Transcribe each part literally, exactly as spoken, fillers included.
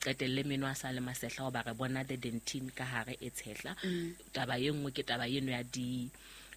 Qetelle meno a sa le masehla hoba re bona the dentine ka hare e tshehla. Taba e nngwe ke taba eno ya di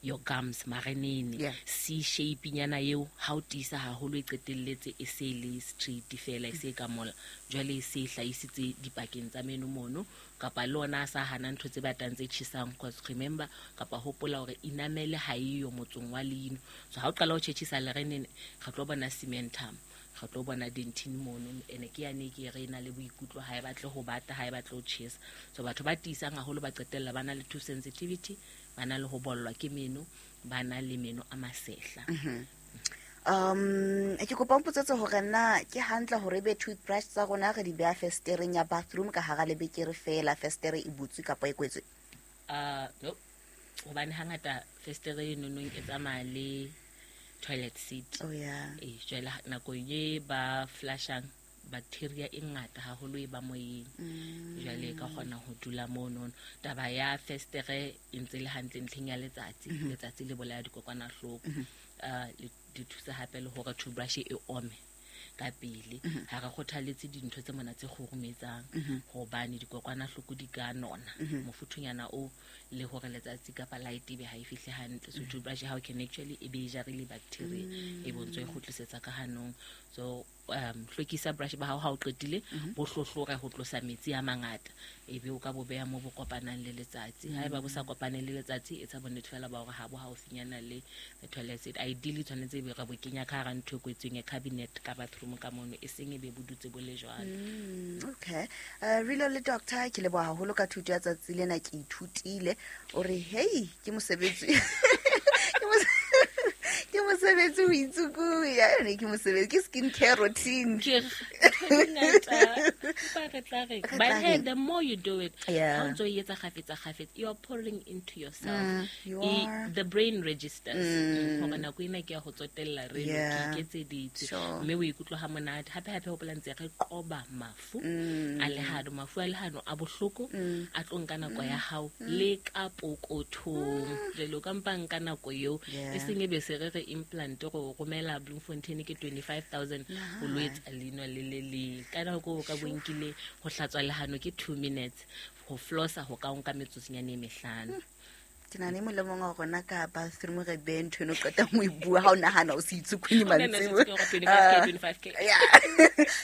your gums marenene. Yeah. C shape nyana eo ha o tiisa haholo e qetelletse e se le straight fela, e se ka mola. Jwale e se e hlahisitse dipakeng tsa meno mono, kapa le ona a sa hana ntho tse batang tse tjhesang, 'cause remember kapa hopola hore enamel ha eyo motsong wa leino. So ha o qala ho tjhetjhisa lerenene, re tlo bona cementum, re tlo bona dentine mono, ene ke yane ke re na le boikutlo ha e batle ho bata, ha e batle ho tjhesa. So batho ba tiisang haholo ba qetella ba na le tooth sensitivity, ba na le ho bollwa ke meno, ba na le meno a masehla. Mm-hmm. Um, ke kopa o mpotsetse hore na ke hantle hore ebe toothbrush tsa rona re di beha festereng ya bathroom ka hara lebekere feela, festere e butswe kapa e kwetswe? Uh, no. Hobane hangata festere e nonong e tsamaya le toilet seat. Oh, yeah. Eh, jwale nako e ba flushang bacteria e ngata haholo e ba moyeng. Mm. Jwale e ka kgona ho dula mono. Taba ya festere e ntse le hantle ntlheng ya letsatsi. Mm-hmm. Letsatsi le bolaya dikokwanahloko. Mm-hmm. Uh, le di thusa hape le hore toothbrush e ome ka pele. Mm-hmm. Ha re kgothaletse dintho tse mona tse kgurumetsang, Mm-hmm. hobane dikokwanahloko di ka nona. Mm-hmm. Mofuthunyana o le hore letsatsi kapa light ebe ha e fihle hantle. So Mm-hmm. toothbrush how can actually e be e jarile bacteria, Mm. e bontse e kgutlisetsa ka hanong. So um hlwekisa brush ba hao ha o qetile, Mm-hmm. bo hlohlore ho tlosa metsi a mangata, ebe o ka bo beha mo bo kopanang le letsatsi. Ha eba bo sa kopane le letsatsi, etsa bonnete fela ba hore ha bo haufinyana le the toilet seat. Ideally tshwanetse ebe re bo kenya ka hara ntho e kwetsweng ya cabinet ka bathroom ka mono, e seng ebe bo dutse bo le jwalo. Mm, okay. Uh, Rilo le doctor, ke leboha haholo ka thuto ya tsatsi lena, ke ithutile. O re, hey, ke mosebetsi. Ke mose-, ke mosebetsi ho itsukuya, yone ke mosebetsi, ke skin care routine. Ke re, ntho di ngata, empa re tla re, Re tla but hey, reng? the more you do it, Yeah. ha o ntso e etsa kgafetsa kgafetsa, you are pouring into yourself. Mm, you E, are. the brain registers. Mm. Hore nako ena ke ya ho tsotella re Yeah. ke iketseditse. Sure. Mme o ikutlwa ha monate. Hape hape hopola ntse re qoba mafu Mm. a lehano. Mafu a lehano a bohloko, Mm. a tlo nka nako ya hao Mm. le ka pokothong. Mm. Jwale o ka mpa nka nako eo. Yeah. E seng e be se re re implant go romela Bloemfontein ke twenty-five thousand Nah. ho lo etsa leino le le leng. Ka nako o ka Sure. bonkile ho hlatswa lehano ke two minutes, ho flossa ho ka o nka metsotsonyana e mehlano. Hmm. Ke nahana e mong le mong wa rona ka bathroom re behe ntho eno, o qetang ho e bua ha o nahana o se itsukunye O nahana o se mantsiboya. itsukunye hore twenty-five K, Ah, twenty-five K. yeah.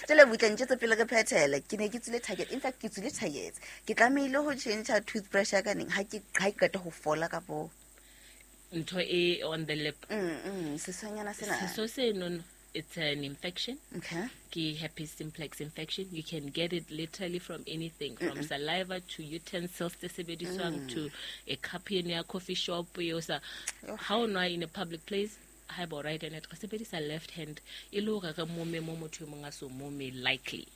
Jwale butle, ntjetse pele re phethele. Ke ne ke tswile target. In fact, ke tswile target. Ke tlamehile ho change toothbrush ya ka neng ha ke, ha ke qeta ho fola kapo Ntho e on the lip. Mm, mm, sesonyana sena. Seso seno, it's an infection. Okay. Ke herpes simplex infection. You can get it literally from anything, from Mm-mm. saliva to utensils tse sebediswang Mm. to a cup eno ya coffee shop eo sa. Yo. Ha o nwa in a public place, ha eba o right handed, re sebedisa left hand e le hore re mome mo motho e mong a so mome likely.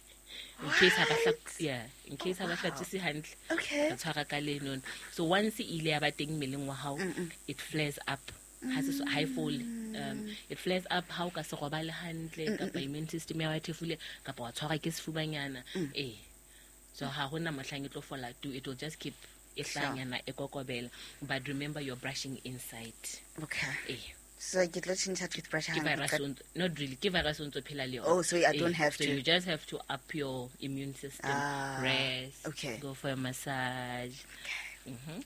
In case ha ba hla-, What? yeah, in case ha ba Oh, wow. hlatswise hantle, Okay. re tshwara ka lenono. So once e ile ya ba teng mmeleng wa hao, Mm-mm. it flares up. Ha se so, ha e fole. Um, Mm. it flares up ha o ka se robale hantle, Mm, mm, kapa mm. immune system ya hao e thefule, kapa wa tshwarwa ke sefubanyana. Mm. Eh. So ha hona mohlang e tlo fola tu, it will just keep e Sure. hlanyana, e kokobela. But remember you're brushing inside. Okay. Eh. So ke tlo tjhentjha toothbrush Ke ha virus nka o ntso, not really, ke virus o ntso phela le yona. Oh, so I don't Eh, have so to. you just have to up your immune system, Ah, rest, okay. go for a massage. Okay. Mm-hmm.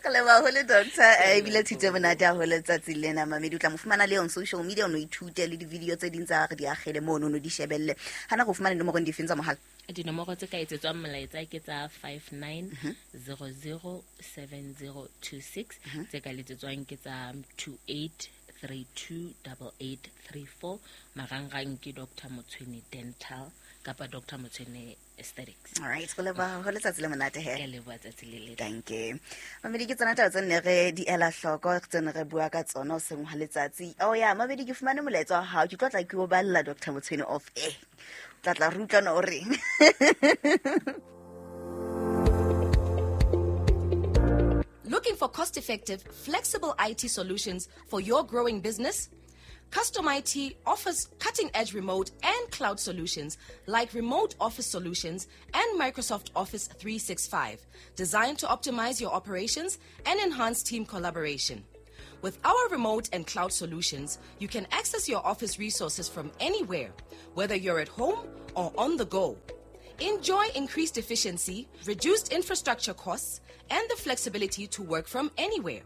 Ka leboha haholo, doctor. Eh, ebile Ke thuto e leboha. monate haholo letsatsi lena. Mamedi, o tla mo fumana le on social media, o no ithute le di-video tse ding tsa re di akgele mono, o no di shebelle. Hana go fumana dinomoro difeng tsa mohala? Dinomoro tse ka etsetswang molaetsa ke tsa five nine Mm-hmm. zero zero seven zero two six. Mm-hmm. Tse ka letsetswang ke tsa two eight three two double eight three four. Marangrang ke Doctor Motshwene Dental kapa Doctor Motshwene Aesthetics. All right, go leboha haholo, letsatsi le monate he. Ke leboha tsatsi le letle. Thank you. Mamedi, ke tsona taba tse nne re di ela hloko, tse ne re bua ka tsona hoseng hwa letsatsi. Oh yeah, Mamedi, ke fumane molaetsa wa hao. Ke tlo tla ke o balla Doctor Motshwene off air. Tla tla re utlwana o reng. Looking for cost-effective, flexible I T solutions for your growing business? Custom I T offers cutting-edge remote and cloud solutions like remote office solutions and Microsoft Office three sixty-five, designed to optimize your operations and enhance team collaboration. With our remote and cloud solutions, you can access your office resources from anywhere, whether you're at home or on the go. Enjoy increased efficiency, reduced infrastructure costs, and the flexibility to work from anywhere.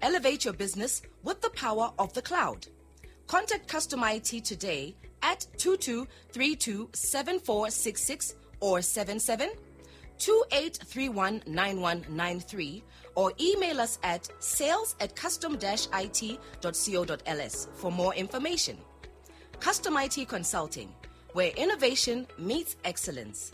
Elevate your business with the power of the cloud. Contact Custom I T today at two two three two seven four six six or seven seven two eight three one nine one nine three or email us at sales at custom dash I T dot co dot L S for more information. Custom I T Consulting, where innovation meets excellence.